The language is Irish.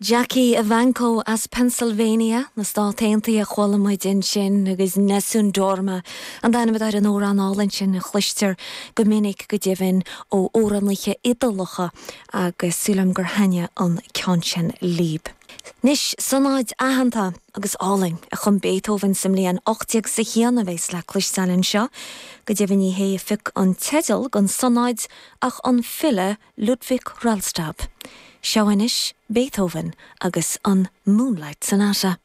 Jackie Evancho as Pennsylvania na Stát Aontaithe a chuala muid ansin agus Nessun Dorma an t-ainm atá ar an amhrán álainn sin a chloistear go minic go deimhin ó amhránaithe Iodalacha agus súil agam gur thaitnigh an ceann sin libh. Anois, sonáid aitheanta agus álainn a chum Beethoven sa mbliain 1801 a bheas le cloisteáil anseo. Go deimhin ní hé a phioc an teideal don sonáid ach an file Ludwig Rellstab. Seo anois Beethoven agus an Moonlight Sonata.